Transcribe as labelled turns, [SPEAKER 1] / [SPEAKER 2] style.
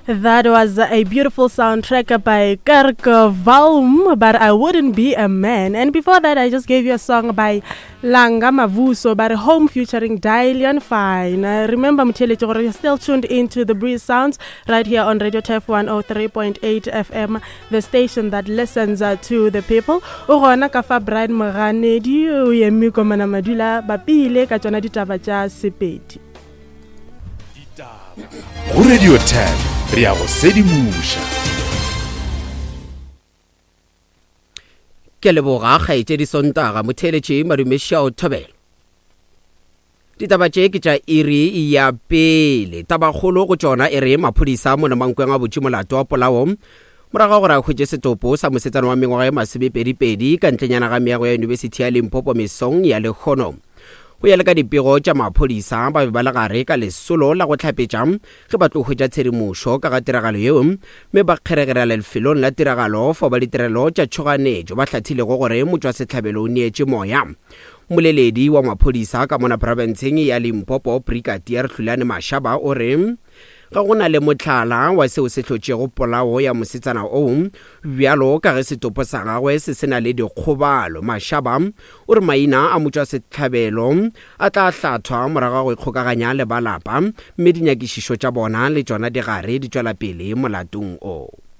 [SPEAKER 1] That was a beautiful soundtrack by Kirk Valm, but I Wouldn't Be a Man. And before that, I just gave you a song by Langa Mavuso, by Home featuring Dilian Fine. Uh, remember, Mutele you're still tuned into the Breeze Sounds right here on Radio Turf 103.8 FM, the station that listens uh, to the people. O gona ka fa Brian Moganedi, o eme komana madula bapile ka tšona ditaba tša Sepedi.
[SPEAKER 2] Ditaba go Radio 10 re ya go sedimoša.
[SPEAKER 3] Ke a leboga kgaetšedi Sontaga motheeletši Madume Šao Thobela. Ditaba tše ke tša iri ya pele. Tabakgolo go tšona e re maphodisa mo Nomankweng a butše molato wa polao morago ga gore a hwetše setopo sa mosetsana wa mengwaga e masomepedipedi ka ntlenyana ga meago ya Yunibesithi ya Limpopo mesong ya lehono. Go ya le ka dipego tša maphodisa, ba be ba le gare ka lesolo la go hlapetša ge ba tlo hwetša tshedimošo ka ga tiragalo yeo mme ba kgeregerela lefelong la tiragalo fao ba ditirelo tša tšhoganetšo ba hlathilego gore motšwasehlabelo o neetše moya. Mmoleledi wa maphodisa ka mona profenseng ya Limpopo, Brigadier Hlulani Mashaba o re ga go na le mohlala wa seo se hlotšego polao ya mosetsana oo bjalo ka ge setopo sa gagwe se se na le dikgobalo. Mashaba O re maina a motšwasehlabelo a tla hlathwa morago ga go ikgokaganya le ba lapa mme dinyakišišo tša bona le tšona di gare di tšwela pele molatong o.